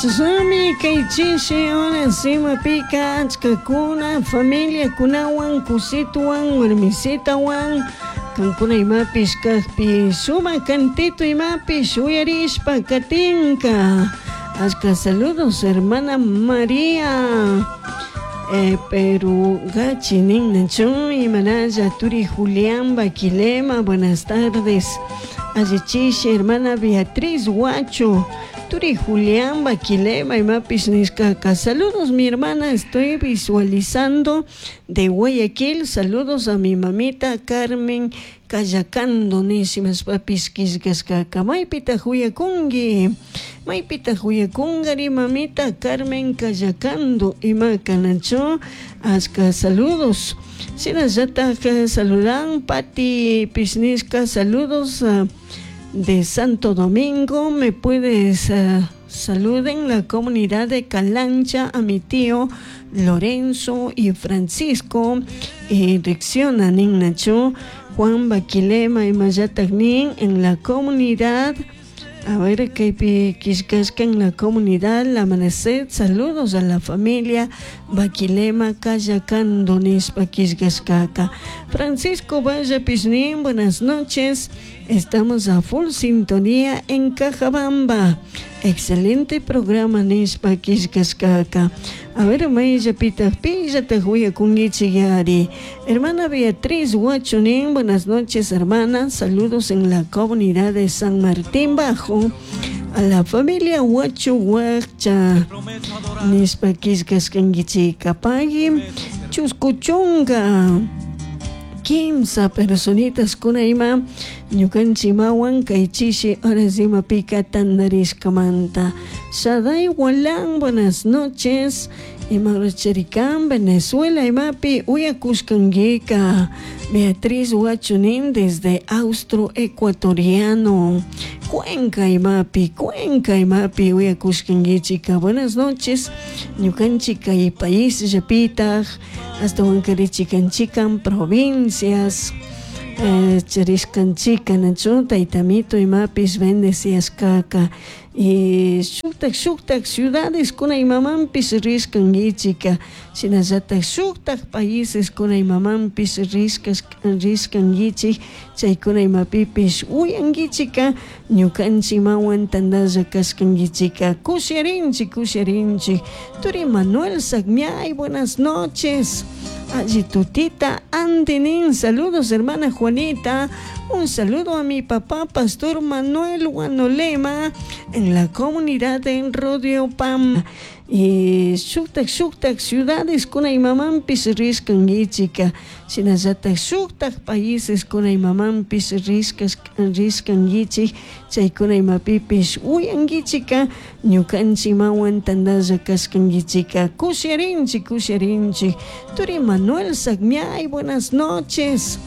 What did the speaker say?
Chashnami kay chishi horas imapika achkakuna familiakunawan kusituwan warmisitawan kankuna imapish kakpi sumak cantito imapish uyarishpa katinka. Achka saludos, hermana María. Pero gachi ninnachu imanalla turi Julián Baquilema, buenas tardes. Allichishi, hermana Beatriz Huacho. Turi Julián Baquilema imapish nishkaka. Saludos, mi hermana, estoy visualizando de Guayaquil. Saludos a mi mamita Carmen Cayacando nishimashpapish killkashkaka. Maypitaq uyakunki? Maypitaq uyakunkari, mamita Carmen Cayacando? Ima kanachu? Achka saludos. Shinallatak saludan Pati Pisnishka, saludos de Santo Domingo. Me puedes saluden la comunidad de Calancha a mi tío Lorenzo y Francisco. Reacciona ninnachu Juan Baquilema imallatak nin en la comunidad. A ver, kaypi killkashka en la comunidad La Amanecer. Saludos a la familia Baquilema Cayacando nishpa killkashkaka. Francisco Valle Pishnin, buenas noches. Estamos a full sintonía en Cajabamba. Excelente programa nishpa killkashkaka. A ver, mayllapitaq pillataq uyakunkichik. Hermana Beatriz Huachunin, buenas noches, hermana. Saludos en la comunidad de San Martín Bajo. A la familia Huacho Huacha. Nishpa killkashkankichik. Pagui chuskuchunka kimsa personitas kuna ima ñukanchimawan kay chishi horas imapika tandarishkamanta. Shaday Walán, buenas noches. Ima charikan Venezuela imapi uyakushkankika. Beatriz Huachunin desde Austro Ecuatoriano. Cuenca imapi, Cuenca imapi uyakushkankichika. Buenas noches. Ñukanchik kay país llapitaj hasta chikan provincias. Charishkanchika nachu taytamito imapis bendeciashkaka y shuktak shuktak ciudades kuna imamanpis rishkankichika, shinallatak shuktak países kuna imamanpis rishkankichik, chaykuna imapipish uyankichika ñukanchikmawan tantalla kashkankichika. Kusharinchik, kusharinchik. Turi Manuel Sagmiay, buenas noches. Alli tutita Andinin, saludos, hermana Juanita. Un saludo a mi papá, Pastor Manuel Guanolema, en la comunidad de Rodio Pam. Y shuktak shuktak ciudades kuna imamanpis rishkankichika, shinallatak shuktak países kuna imamanpis rishkankichik, chaykuna imapipish uyankichika ñukanchikmawan tantalla kashkankichika. Kusharinchik, kusharinchik. Turi Manuel Sagmiay, buenas noches.